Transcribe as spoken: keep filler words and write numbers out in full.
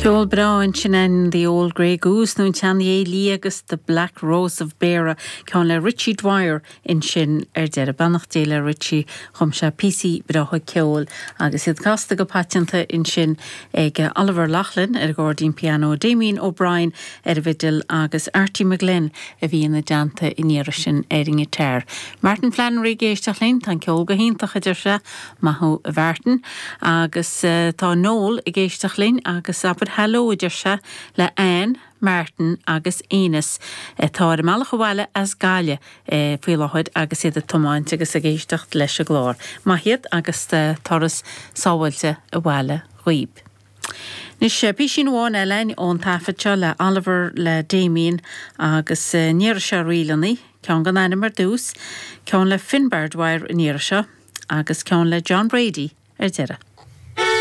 Ceol breá ansin an The Old Grey Goose nó an tSeanghé Liath agus The Black Rose of Beara ceann le Richie Dwyer ansin ar deireadh beannacht Dé le Richie chum sé píosaí breátha ceoil agus iad casta go paiteanta ansin ag Oliver Loughlin ar gcairdín piano, Damien O'Brien ar an bhfidil agus Artie McGlynn a bhí ina dteannta an iarraidh sin ar an ngiotár. Martin Flannery ag éisteacht linn tá ceol go hiontach a deir sé maith thú a Mhartin agus uh, tá Noel ag éisteacht linn agus abair hello a deir sé le Anne, Martin agus Enos atá ar a mbealach abhaile as Gaillimh e, faoi láthair agus iad ag tiomáint agus ag éisteacht leis an gclár. Maith iad agus turas sábháilte abhaile dhaoib. Anois píosín amháin eile ón taifead seo le Oliver le Damien agus níor se rílannaí, ceann gan ainm ar dtús, ceann le Finbar Dwyer an iarraidh seo agus ceann le John Brady ar deireadh.